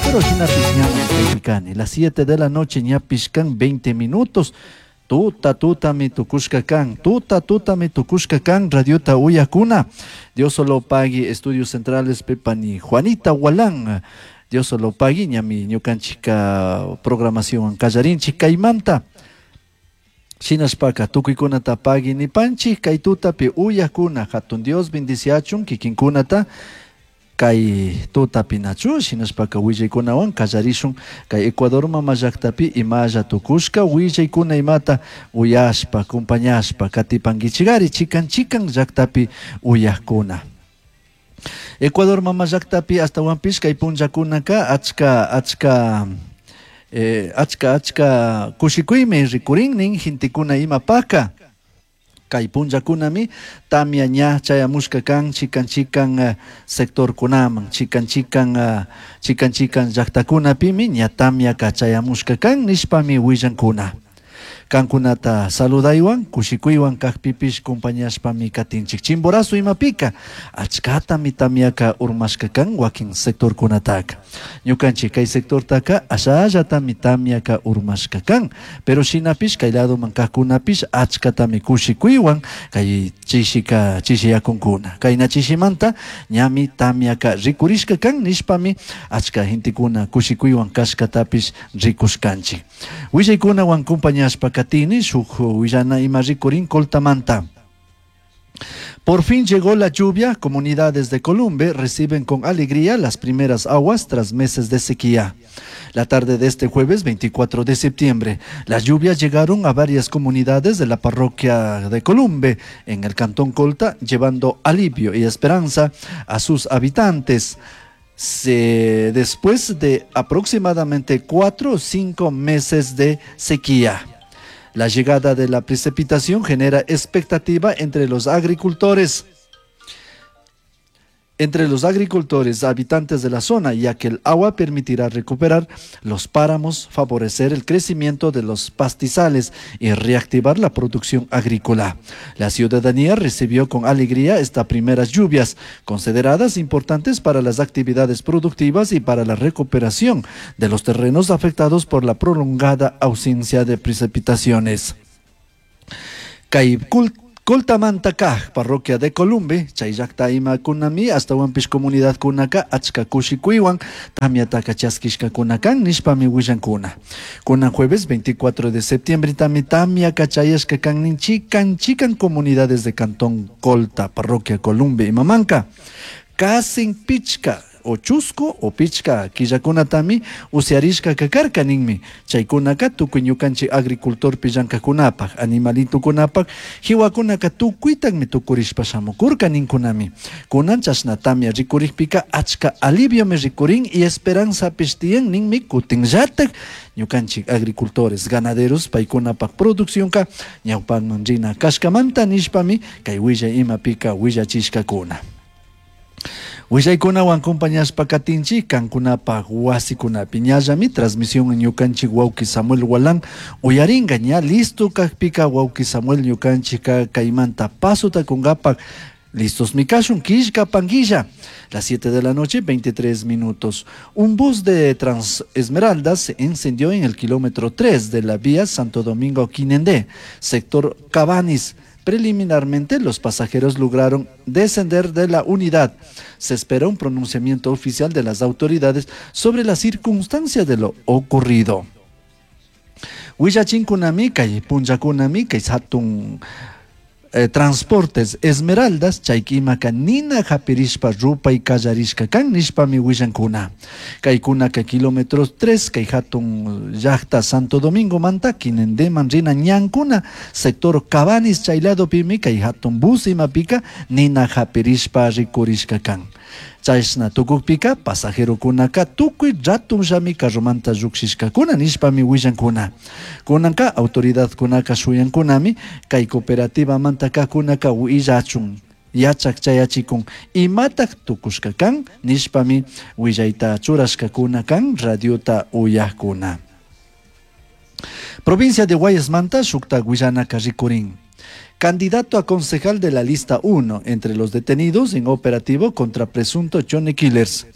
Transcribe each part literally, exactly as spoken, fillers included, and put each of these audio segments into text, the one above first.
Pero shinapish ñami kaypi kani. Las siete de la noche ñapish kan veinte minutos. Tuta tutami tukushka kan, tuta tutami tukushka kan, radiota uyakuna. Dios solo pagui, Estudios Centrales, Pepani, Juanita Walán. Dios solo pagui, ñami ñukanchika programación kallarinchik kaymanta. Shinashpaka tukuykunata pagui nipanchik, kay tutapi uyakuna, hatun Dios bendiciachun kikinkunata. Kay tutapi nachu, shinashpaka willaykunawan kallarishun kay Ecuador mama llaktapi imalla tukushka willaykuna imata uyashpa, compañashpa, katipankichikari chikan chikan llaktapi uyakuna. Ecuador mama llaktapi astawanpish kay punllakunaka achka, achka, eh, achka, achka kushikuymi rikurinnin gentekuna imapaka. Kay punllakunami tamia ña chayamushka kan chikan chikan, eh, sectorkunaman, chikan chikan, eh, chikan chikan llaktakunapimi ña tamiaka chayamushka kan nishpami willankuna. Kankunata saludaywan, kushikuywan kakpipish compañashpami katinchik. Chimborazo imapika, achkatami tamiaka urmashka kan wakin sectorkunataka. Ñukanchik kay sectortaka ashallatami tamiaka urmashka kan. Pero shinapish kay ladoman kakunapish achkatami kushikuywan kay chishika chishiyakunkuna. Kayna chishimanta ñami tamiaka rikurishka kan nishpami achka gentekuna kushikuywan kashkatapish rikushkanchik. Willaykunawan compañashpa katini shuk willana ima rikurin Coltamanta. Por fin llegó la lluvia, comunidades de Columbe reciben con alegría las primeras aguas tras meses de sequía. La tarde de este jueves veinticuatro de septiembre, las lluvias llegaron a varias comunidades de la parroquia de Columbe, en el cantón Colta, llevando alivio y esperanza a sus habitantes. Se, después de aproximadamente cuatro o cinco meses de sequía. La llegada de la precipitación genera expectativa entre los agricultores. Entre los agricultores habitantes de la zona, ya que el agua permitirá recuperar los páramos, favorecer el crecimiento de los pastizales y reactivar la producción agrícola. La ciudadanía recibió con alegría estas primeras lluvias, consideradas importantes para las actividades productivas y para la recuperación de los terrenos afectados por la prolongada ausencia de precipitaciones. Kay Coltamanta kaj, parroquia de Columbe, chay llakta ima kunami, astawanpish comunidad kunaka, achka kushikuywan, tamiataka chaskishka kunakan, nishpami willankuna. Kunan jueves veinticuatro de septiembre, tami tamiaka chayashka kannin chikan chikan comunidades de Cantón Colta, parroquia Columbe y Mamanca. Kasin pichka, o chusco o pichka killakunatami usiarishka kakarka ninmi. Chaykunaka tukuy ñukanchik agricultor pillankakunapaj, animalitukunapaj, hiwakunaka tukuytaqmi tukurishpa shamukurka ninkunami. Kunan chashna tamia rikurikpika achka aliviomi rikurin y esperanzapish tiyan ninmi kutinllatak ñukanchik agricultores, ganaderos paykunapaj produccionka ñawpanman rina kashkamanta nishpami kay willay imapika willachishkakuna. Willaykunawan compañashpa katinchik kankunapaj wasikunapi ñallami transmisión ñukanchik wawqi Samuel Walán uyaringa ña listo kajpika wawqi Samuel ñukanchik kaymanta pasota kungapak listos mi kashun kishka panguilla. Las siete de la noche, veintitrés minutos. Un bus de Trans Esmeraldas se incendió en el kilómetro tres de la vía Santo Domingo Quinindé, sector Cabanis. Preliminarmente, los pasajeros lograron descender de la unidad. Se espera un pronunciamiento oficial de las autoridades sobre la circunstancia de lo ocurrido. Huillachinkunami, kay punllakunami, kay hatun, eh, transportes Esmeraldas, chaykimaka nina hapirishpa rupay kallarishka kan nishpami willankuna. Kaykunaka kilómetros tres, kay hatun llaqta Santo Domingo manta, Quinindéman rina ñankuna, sector Cabanis chayladopimi kay hatun bus imapika nina hapirishpa rikurishka kan. Chashna tukukpika pasajerokunaka tukuy ratunllami carromanta llukshishkakuna nishpami willankuna. Kunanka autoridadkunaka shuyankunami kay cooperativamanta kakunaka willachun yachak chayachikun imatak tukushka kan nishpami willayta churashkakuna kan radiota uyakuna. Provincia de Guayasmanta shukta willanaka rikurin. Candidato a concejal de la lista uno entre los detenidos en operativo contra presunto Johnny Killers.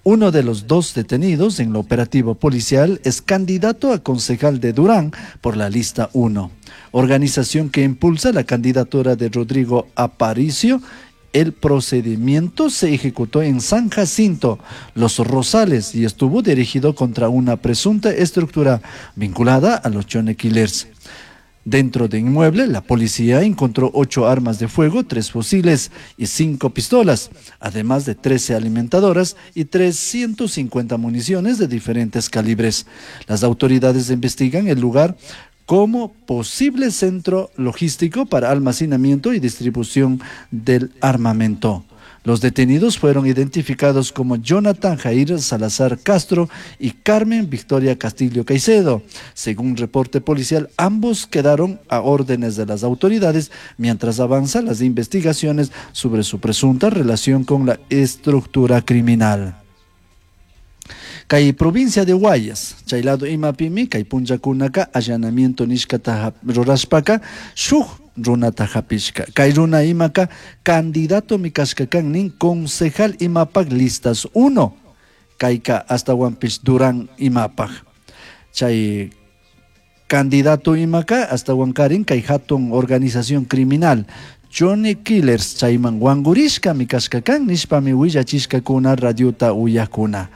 Uno de los dos detenidos en el operativo policial es candidato a concejal de Durán por la lista uno, organización que impulsa la candidatura de Rodrigo Aparicio. El procedimiento se ejecutó en San Jacinto, Los Rosales, y estuvo dirigido contra una presunta estructura vinculada a los Chone Killers. Dentro del inmueble, la policía encontró ocho armas de fuego, tres fusiles y cinco pistolas, además de trece alimentadoras y trescientas cincuenta municiones de diferentes calibres. Las autoridades investigan el lugar como posible centro logístico para almacenamiento y distribución del armamento. Los detenidos fueron identificados como Jonathan Jair Salazar Castro y Carmen Victoria Castillo Caicedo. Según reporte policial, ambos quedaron a órdenes de las autoridades mientras avanzan las investigaciones sobre su presunta relación con la estructura criminal. Kay provincia de Guayas, chay lado imapimi, kay punllakunaka allanamiento nishkata rurashpaka, shuk runata hapishka. Kay runa imaka candidato mi kashka kan nin concejal imapak listas uno. Kayka hasta wanpish Durán imapak. Chay candidato imaka hasta wankarin kay hatun organización criminal Johnny Killers chayman wangurishka mi kashka kan nishpami willachishkakuna radiota uyakuna.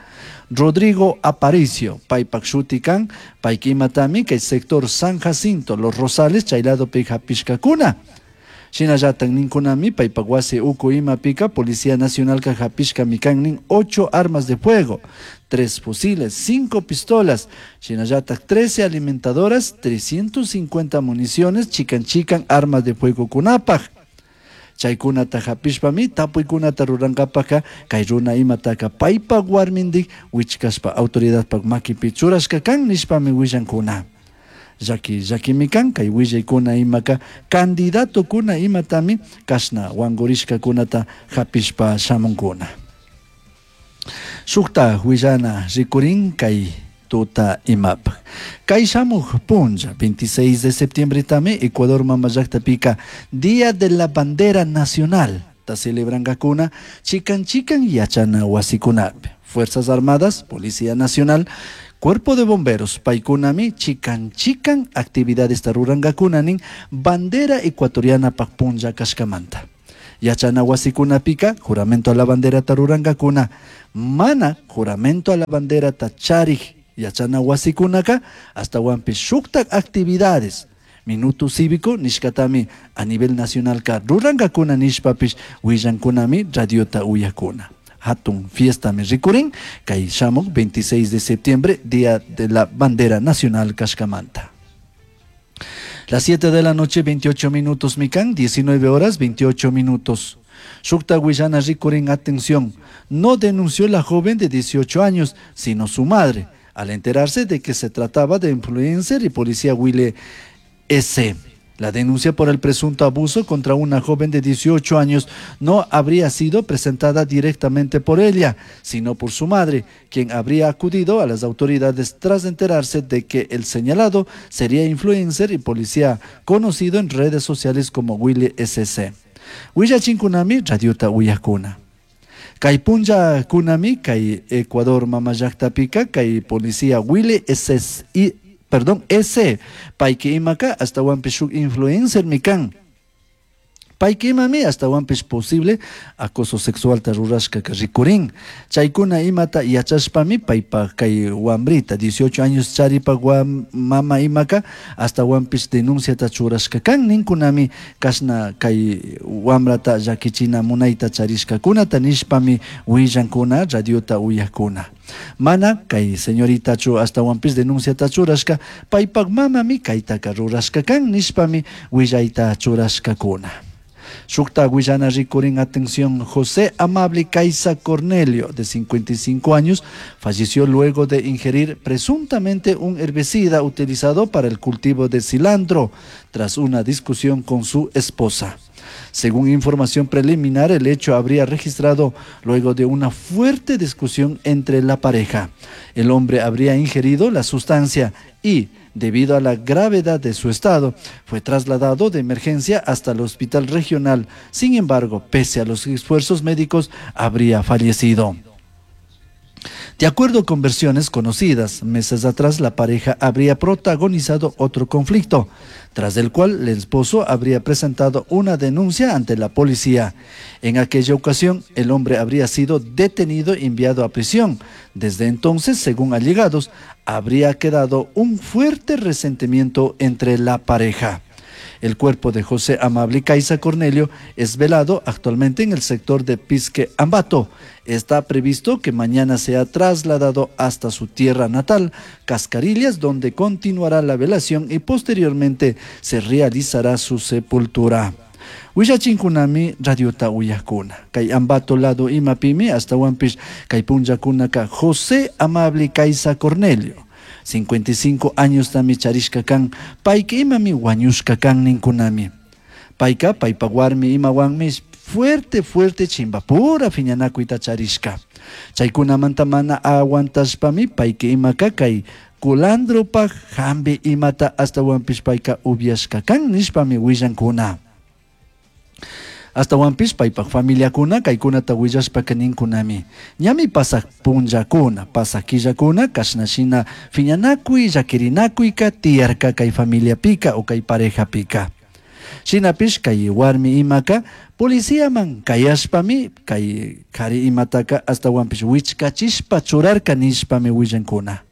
Rodrigo Aparicio, paypak shuti kan, payka imatami kay sector San Jacinto, Los Rosales, chay lado pi hapishkakuna. Shinallatan ninkunami paypak wasi uku imapika Policía Nacional ka hapishka mikan nin ocho armas de fuego, tres fusiles, cinco pistolas, shinallatan trece alimentadoras, trescientas cincuenta municiones, chican chican armas de fuego kunapaj. Chaykunata hapishpami tapuykunata rurankapaka kay runa imataka paypak warmindik wichkashpa autoridadpak makipi churashka kan nishpami willankuna. Llaki llakimi kan kay willaykuna imaka candidatokuna imatami kashna wangurishkakunata hapishpa shamunkuna. Shukta willana rikurin kay tuta imapaj. Kay shamuj punlla, veintiséis de septiembre tami, Ecuador mama llaqtapika, Día de la Bandera Nacional, ta celebrankakuna, chikan chikan yachana wasikunapi. Fuerzas Armadas, Policía Nacional, Cuerpo de Bomberos, paykunami, chikan chikan actividades tarurankakuna nin, bandera ecuatoriana pak punlla kashkamanta. Yachana wasikunapika, juramento a la bandera tarurankakuna, mana juramento a la bandera tacharij. Yachana wasikunaka, hasta wampi shuktak actividades. Minuto cívico, nishkatami a nivel nacional ka rurankakuna nishpapish, willankunami radiota uyakuna. Hatun fiesta mi rikurin, kay shamuk veintiséis de septiembre, Día de la Bandera Nacional Kashkamanta. Las siete de la noche, veintiocho minutos, mikan, diecinueve horas, veintiocho minutos. Shukta Willana rikurin, atención, no denunció la joven de dieciocho años, sino su madre, al enterarse de que se trataba de influencer y policía Willy S. La denuncia por el presunto abuso contra una joven de dieciocho años no habría sido presentada directamente por ella, sino por su madre, quien habría acudido a las autoridades tras enterarse de que el señalado sería influencer y policía conocido en redes sociales como Willy S C. Willachinkunami, radiota uyakuna. Kay punlla kunami, kay Ecuador mama llaqtapika, kay policía Willy S S I, perdón, S, payki imaka, hasta wampi shuk influencer mikan. Payki imami, hasta wampish posible acoso sexual ta rurashka ka rikurin. Chaykuna imata yachashpami, paypa kay wambrita, dieciocho años charipa guam, mama imaka, hasta wampish denuncia ta churashka kan, ninkunami kashna kay wambrata llakichina munayta charishkakunata nishpami willankuna, radiota uyakuna. Mana kay señorita chu hasta wampish denuncia ta churashka, paypak mamami kaytaka rurashka kan, nishpami willayta churashkakuna. Shukta Willana rikurin, atención, José Amable Caiza Cornelio, de cincuenta y cinco años, falleció luego de ingerir presuntamente un herbicida utilizado para el cultivo de cilantro, tras una discusión con su esposa. Según información preliminar, el hecho habría registrado luego de una fuerte discusión entre la pareja. El hombre habría ingerido la sustancia y, debido a la gravedad de su estado, fue trasladado de emergencia hasta el hospital regional. Sin embargo, pese a los esfuerzos médicos, habría fallecido. De acuerdo con versiones conocidas, meses atrás la pareja habría protagonizado otro conflicto, tras el cual el esposo habría presentado una denuncia ante la policía. En aquella ocasión, el hombre habría sido detenido y enviado a prisión. Desde entonces, según allegados, habría quedado un fuerte resentimiento entre la pareja. El cuerpo de José Amable Caiza Cornelio es velado actualmente en el sector de Pisque Ambato. Está previsto que mañana sea trasladado hasta su tierra natal, Cascarillas, donde continuará la velación y posteriormente se realizará su sepultura. Willachinkunami radiota uyakuna. Kay Ambato lado imapimi ashtahuanpish kay punllakunaka José Amable Caiza Cornelio. cincuenta y cinco años tami charishka kan, payka imami wañushka kan ninkunami. Payka paypa warmi imawanmi fuerte fuerte chimbapura fiñanakuyta charishka. Chaykunamanta mana aguantashpami payka imaka kay culandropaj hambi imata ashtahuanpish payka upiashka kan nishpami willankuna. Ashtahuanpish paypaj familiakuna kaykunata willashpaka ninkunami. Ñami pasaj punllakuna, pasaj killakuna kashna shina fiñanakuy, llaquirinakuyka tiyarka kay familiapika o kay parejapika. Shinapish kay warmi imaka policiaman kayashpami kay kari imataka ashtahuanpish wichkachishpa churarka nishpami willankuna.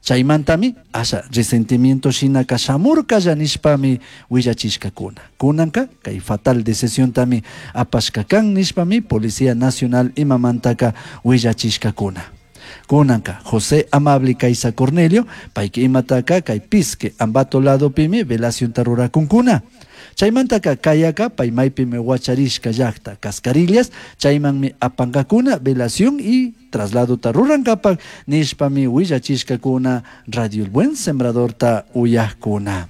Chaymantami asha resentimiento shinaka shamurkalla nishpami willachishkakuna. Kunanka kay fatal decisiontami apashka kan nishpami Policía Nacional imamantaka willachishkakuna. Kunanka José Amable Caiza Cornelio payka imataka kay Pisque Ambato ladopimi velacionta rurakunkuna. Chaymantaka kayaka pay maypimi wacharishka llakta Cascarillas chaymanmi apankakuna velación y trasladota rurankapak nishpami willachishkakuna Radio El Buen Sembradorta uyakuna.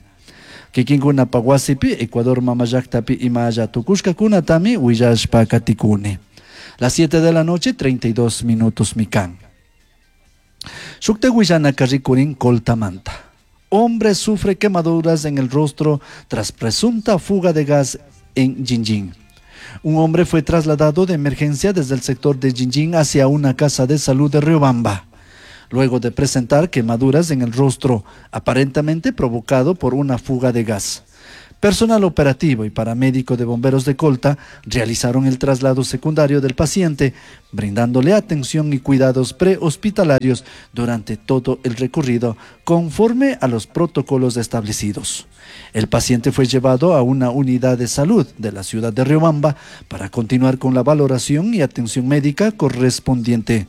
Kikinkunapa wasipi Ecuador mama llaktapi imalla tukushkakunatami willashpa katikuni. Las siete de la noche, treinta y dos minutos mi kan. Shukta willanaka rikurin Coltamanta. Hombre sufre quemaduras en el rostro tras presunta fuga de gas en Jinjin. Un hombre fue trasladado de emergencia desde el sector de Jinjin hacia una casa de salud de Riobamba, luego de presentar quemaduras en el rostro, aparentemente provocado por una fuga de gas. Personal operativo y paramédico de bomberos de Colta realizaron el traslado secundario del paciente, brindándole atención y cuidados prehospitalarios durante todo el recorrido, conforme a los protocolos establecidos. El paciente fue llevado a una unidad de salud de la ciudad de Riobamba para continuar con la valoración y atención médica correspondiente.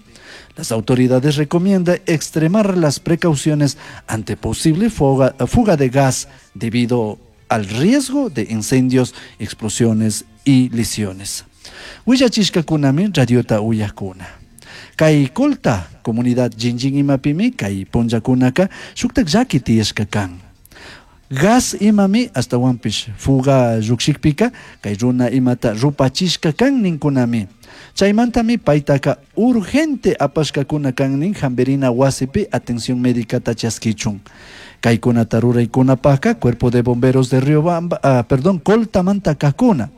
Las autoridades recomiendan extremar las precauciones ante posible fuga, fuga de gas debido al riesgo de incendios, explosiones y lesiones. Willachishkakunami radiota uyakuna. Kay Colta, comunidad Jinjin imapimi, kay punllakunaka, shuktak llaki tiyashka kan. Gas imami ashtahuanpish fuga llukshikpika, kay runa imata rupachishka kan ninkunami. Chaymantami paytaka urgente apashkakuna kan nin hambirina wasipi atención médica chaskichun. Kaykunata ruraykunapaka cuerpo de bomberos de Riobamba, ah, perdón, Coltamanta kakuna.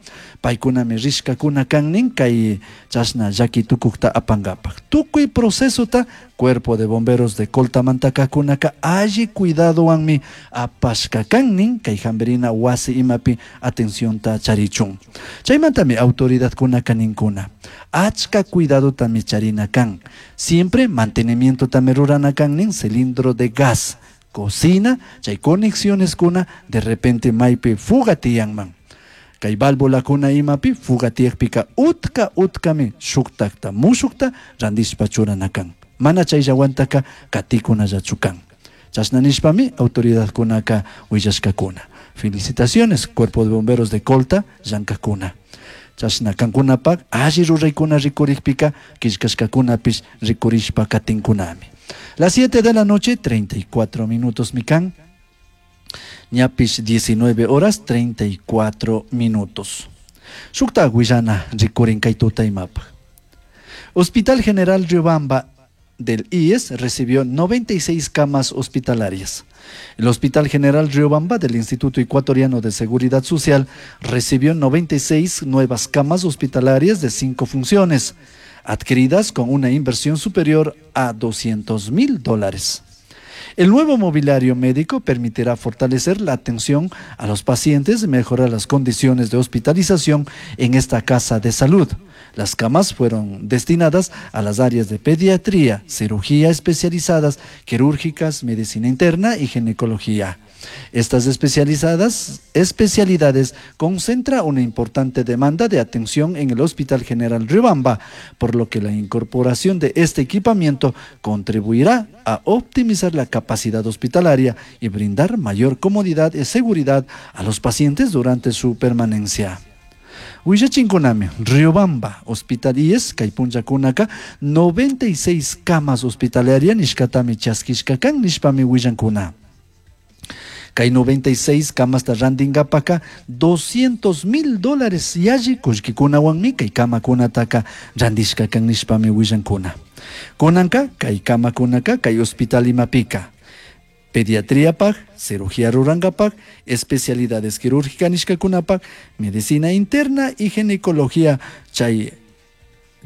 Paykunami rishkakuna kan nin kay chashna llaki tukukta apangapak. Tukuy procesota cuerpo de bomberos de Coltamanta kakunaka alli cuidadowanmi apashka kan nin kay hambirina wasi imapi atencionta charichun. Chaymantami autoridadkunaka ninkuna. Achka cuidadotami charina kan. Siempre mantenimiento tami rurana kan nin cilindro de gas. Cocina, chay conexiones kuna, de repente maypi fuga tiyanman. Kay válvula kuna imapi fuga tiyakpika utka utkami shuktakta mushukta randishpa churana kan. Mana chayllawantaka katikunallachu kan. Chashna nishpami autoridadkunaka willashkakuna. Felicitaciones, Cuerpo de Bomberos de Colta, llankakuna. Chashna kankunapak alli ruraykuna rikurikpika killkashkakunapish rikurishpa katinkunami. Las siete de la noche, treinta y cuatro minutos mi kan. Ñapish diecinueve horas treinta y cuatro minutos. Shukta willana rikurin kay tuta imapaj. Hospital General Riobamba del I E S recibió noventa y seis camas hospitalarias. El Hospital General Riobamba del Instituto Ecuatoriano de Seguridad Social recibió noventa y seis nuevas camas hospitalarias de cinco funciones. adquiridas con una inversión superior a doscientos mil dólares. El nuevo mobiliario médico permitirá fortalecer la atención a los pacientes y mejorar las condiciones de hospitalización en esta casa de salud. Las camas fueron destinadas a las áreas de pediatría, cirugía especializadas, quirúrgicas, medicina interna y ginecología. Estas especializadas, especialidades concentra una importante demanda de atención en el Hospital General Riobamba, por lo que la incorporación de este equipamiento contribuirá a optimizar la capacidad hospitalaria y brindar mayor comodidad y seguridad a los pacientes durante su permanencia. Willachinkunami, Riobamba, Hospital I E S, kay punllakunaka, noventa y seis camas hospitalarias nishkatami chaskishkakan nishpami willankuna. Kay noventa y seis camasta randinkapaka doscientos mil dólares yalli kullkikunawanmi kay kamakunataka randishkakan nishpami willankuna. Kunanka kay kamakunaka kay hospital imapika. Pediatriapaj, cirugía rurankapaj, especialidades quirúrgicas nishkakunapaj, medicina interna y ginecología chay,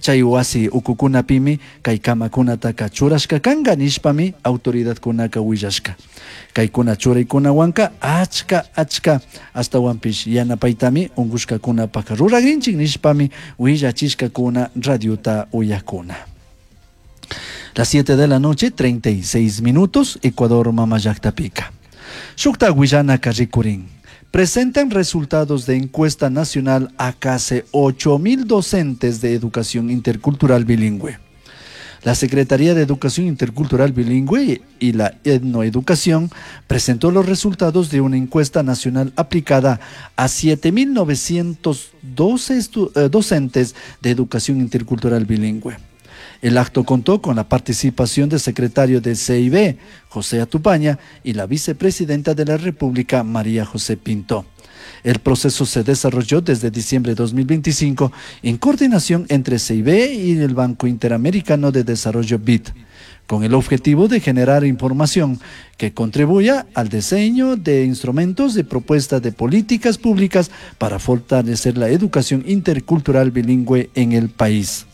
chay wasi ukukunapimi kay kamakunataka churashkakanga nishpami autoridadkunaka willashka. Kaykuna churaykunawanka achka achka astawanpish yanapaytami unkushkakunapaj ruragrinchik nishpami willachishkakuna radiota uyakuna. Las siete de la noche, treinta y seis minutos, Ecuador Mamallaktapica. Shukta Guillana Carricurín. Presentan resultados de encuesta nacional a casi ocho mil docentes de educación intercultural bilingüe. La Secretaría de Educación Intercultural Bilingüe y la Etnoeducación presentó los resultados de una encuesta nacional aplicada a siete mil novecientos doce estu-, eh, docentes de educación intercultural bilingüe. El acto contó con la participación del secretario de C I B, José Atupaña, y la vicepresidenta de la República, María José Pinto. El proceso se desarrolló desde diciembre de dos mil veinticinco en coordinación entre C I B y el Banco Interamericano de Desarrollo B I D, con el objetivo de generar información que contribuya al diseño de instrumentos de propuesta de políticas públicas para fortalecer la educación intercultural bilingüe en el país.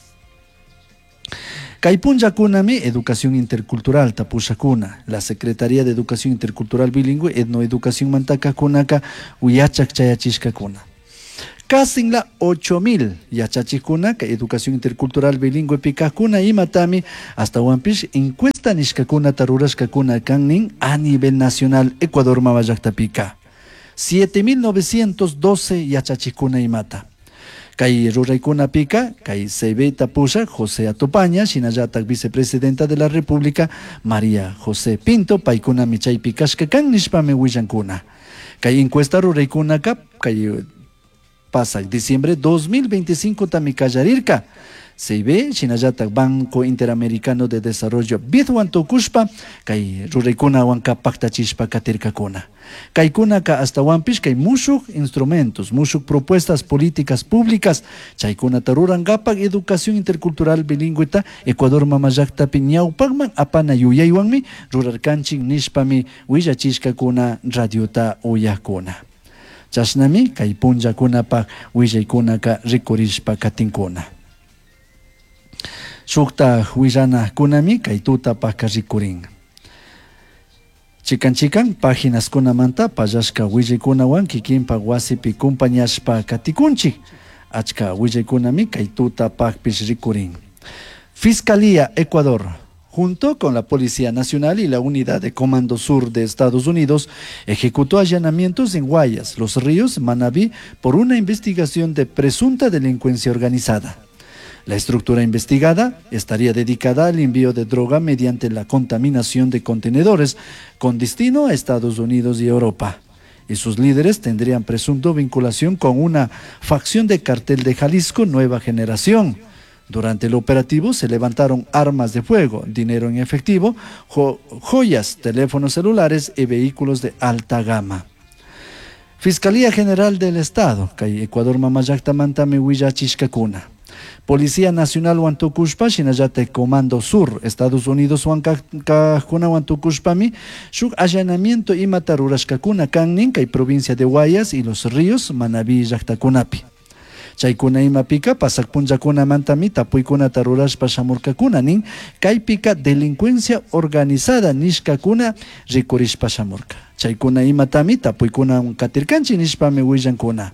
Kaypunllakunami Educación Intercultural tapushakuna, la Secretaría de Educación Intercultural Bilingüe Etnoeducación mantakakunaka uyachak chayachishkakuna. Casi la ocho mil yachachikuna ka Educación Intercultural Bilingüe pikakuna imatami hasta wampish encuesta nishkakuna tarurashkakuna kannin a nivel nacional Ecuador mamallakta-pika. siete mil novecientos doce yachachikuna imata. Kay ruraykuna pika, kay C B tapusha, José Atupaña, shinallatak vicepresidenta de la República, María José Pinto, paykuna michaypi kashkakan nishpami willankuna. Kay encuesta ruraykunaka, kay pasak diciembre dos mil veinticinco tami kallarirka. C B, shinallatak Banco Interamericano de Desarrollo, B I D wantukushpa, kay ruraykuna wanka paktachishpa katirkakuna. Kaykunaka hasta wampish kay mushuk instrumentos, mushuk propuestas políticas públicas, chaykunata rurankapak educación intercultural bilingüeta, Ecuador mamallaktapi ñawpakman apana yuyaywanmi rurarkanchik nishpami willachishkakuna radiota uyakuna. Chashnami kay punllakunapak willaykunaka rikurishpa katinkuna. Shukta willanakunami kay tutapaka rikurin. Chikan chikan páginas kunamanta pallashka willaykunawan kikinpak wasipi kumpañashpa katikunchik. Achka willaykunami kay tutapakpish rikurin. Fiscalía Ecuador, junto con la Policía Nacional y la Unidad de Comando Sur de Estados Unidos, ejecutó allanamientos en Guayas, Los Ríos, Manabí, por una investigación de presunta delincuencia organizada. La estructura investigada estaría dedicada al envío de droga mediante la contaminación de contenedores con destino a Estados Unidos y Europa. Y sus líderes tendrían presunto vinculación con una facción de cartel de Jalisco Nueva Generación. Durante el operativo se levantaron armas de fuego, dinero en efectivo, jo-, joyas, teléfonos celulares y vehículos de alta gama. Fiscalía General del Estado, kay Ecuador Mamallakta mantami willachishkakuna. Policía Nacional Huantucushpa, shinallate Comando Sur, Estados Unidos Huancajuna Huantucushpami, shuk allanamiento imata rurashkakuna kannin kay provincia de Guayas y Los Ríos, Manabí llaktakunapi. Chaykuna imapika pasak punllakunamantami tapuykunata rurashpa shamurkakuna nin kaypika delincuencia organizada nishkakuna rikurishpa shamurka. Chaykuna imatami tapuykuna katirkanchik nishpami willankuna.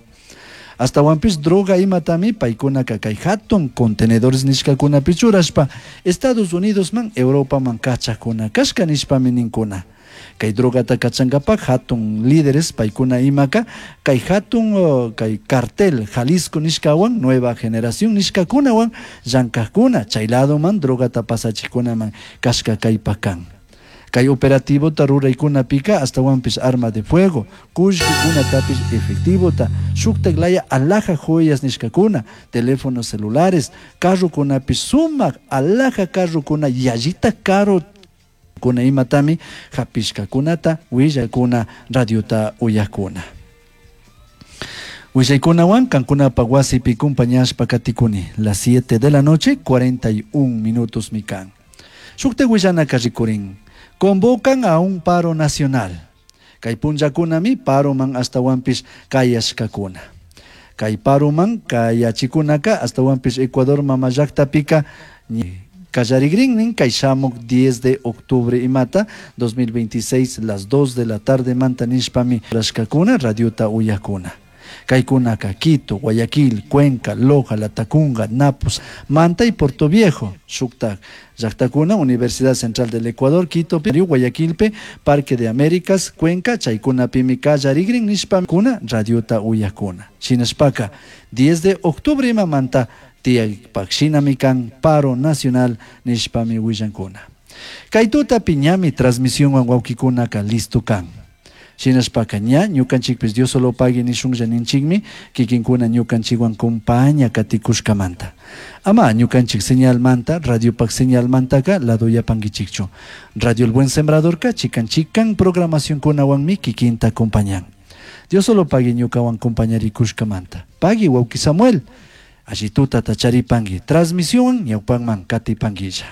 Astawanpish droga imatami paykunaka kay hatun contenedores nishkakunapi churashpa Estados Unidosman Europaman kachakuna kashka nishpami ninkuna. Kay drogata kachankapak hatun líderes paykuna imaka kay hatun uh, kay cartel Jalisco nishkawan Nueva Generación nishkakunawan llankakuna chay ladoman drogata pasachikunaman kashka kaypak kan. Kay operativota ruraykunapika astawanpish arma de fuego, kullkikunatapish efectivota, shuktak laya alhaja joyas nishkakuna, teléfonos celulares, carrokunapish sumak alhaja carrokuna yallita caro kuna imatami hapishkakunata willakuna radiota uyakuna. Willaykunawan kankunapaq wasipi compañashpa katikuni las siete de la noche cuarenta y un minutos mi kan. Shukta willanaka rikurin. Convocan a un paro nacional. Kay punllakunami paroman astawanpish kayashkakuna. Kay paroman kayachikunaka astawanpish Ecuador mama llaktapika kallarigrinnin kay shamuk diez de octubre imata dos mil veintiséis las dos de la tarde manta nishpami rashkakuna radiota uyakuna. Kaykunaka Quito, Guayaquil, Cuenca, Loja, Latacunga, Napos, Manta y Portoviejo. Shuktak llaktakuna, Universidad Central del Ecuador, Quito, Perú, Guayaquilpe, Parque de Américas, Cuenca, chaykunapimi kallarigrin nishpakuna radiota uyakuna. Shinashpaka diez de octubre imamanta tiyakpak shinami kan paro nacional nishpami willankuna. Kay tutapi ñami transmisionwan wawkikunaka listo kan. Shinashpaka ña ñukanchikpish Dios solo pagui nishunlla ninchikmi kikinkuna ñukanchikwan compaña katikushkamanta. Ama ñukanchik señalmanta, radiopak señalmantaka ladoyapankichikchu. Radio El Buen Sembradorka chikan chikan programacionkunawanmi kikinta acompañan. Dios solo pagui ñukawan compañarikushkamanta. Pagui wawki Samuel. Allí tuta tacharipangi. Transmisión ñawpanman katipanguilla.